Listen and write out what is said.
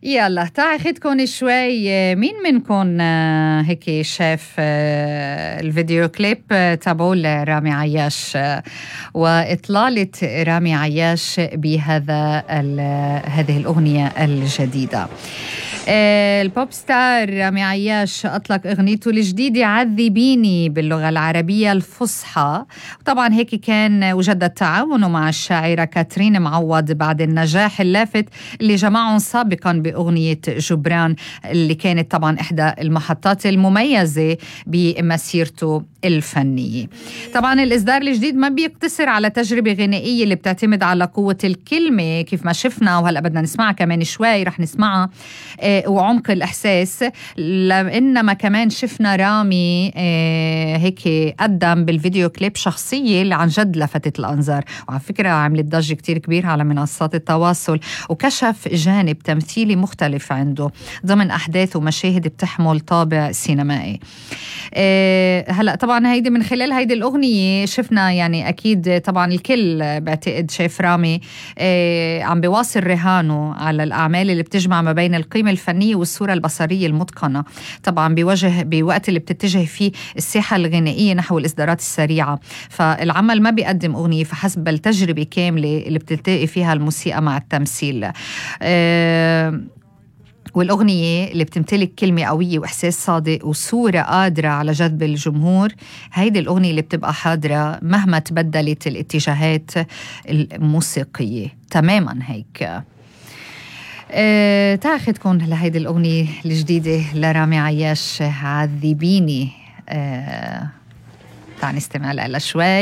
يلا تاخدكن شوي. مين منكن هيك شاف الفيديو كليب تابعوا لرامي عياش وإطلالة رامي عياش بهذا هذه الأغنية الجديدة؟ البوب ستار رامي عياش أطلق أغنيته الجديدة عذبيني باللغة العربية الفصحى. طبعا هيك كان وجد تعاونه مع الشاعرة كاترين معوض بعد النجاح اللافت اللي جمعهم سابقا بأغنية جبران اللي كانت طبعا إحدى المحطات المميزة بمسيرته الفنية. طبعا الإصدار الجديد ما بيقتصر على تجربة غنائية اللي بتعتمد على قوة الكلمة كيف ما شفنا، وهلأ بدنا نسمعها كمان شوي رح نسمعها، وعمق الإحساس، إنما كمان شفنا رامي هيك قدم بالفيديو كليب شخصية اللي عن جد لفتت الأنظار، وعلى فكرة عملت ضجة كتير كبير على منصات التواصل، وكشف جانب تمثيلي مختلف عنده ضمن أحداث ومشاهد بتحمل طابع سينمائي. هلأ طبعا هيدي من خلال هيدي الأغنية شفنا يعني أكيد طبعا الكل بعتقد شايف رامي عم بيواصل رهانه على الأعمال اللي بتجمع ما بين القيمة الفنية والصورة البصرية المتقنة، طبعا بوقت اللي بتتجه فيه الساحة الغنائية نحو الإصدارات السريعة. فالعمل ما بيقدم أغنية فحسب بل تجربة كاملة اللي بتلتقي فيها الموسيقى مع التمثيل. والأغنية اللي بتمتلك كلمة قوية وإحساس صادق وصورة قادرة على جذب الجمهور، هيدي الأغنية اللي بتبقى حاضرة مهما تبدلت الاتجاهات الموسيقية تماما. هيك تاخدكن لهيدي الأغنية الجديدة لرامي عياش عذبيني. تعال نستمع لها شوي.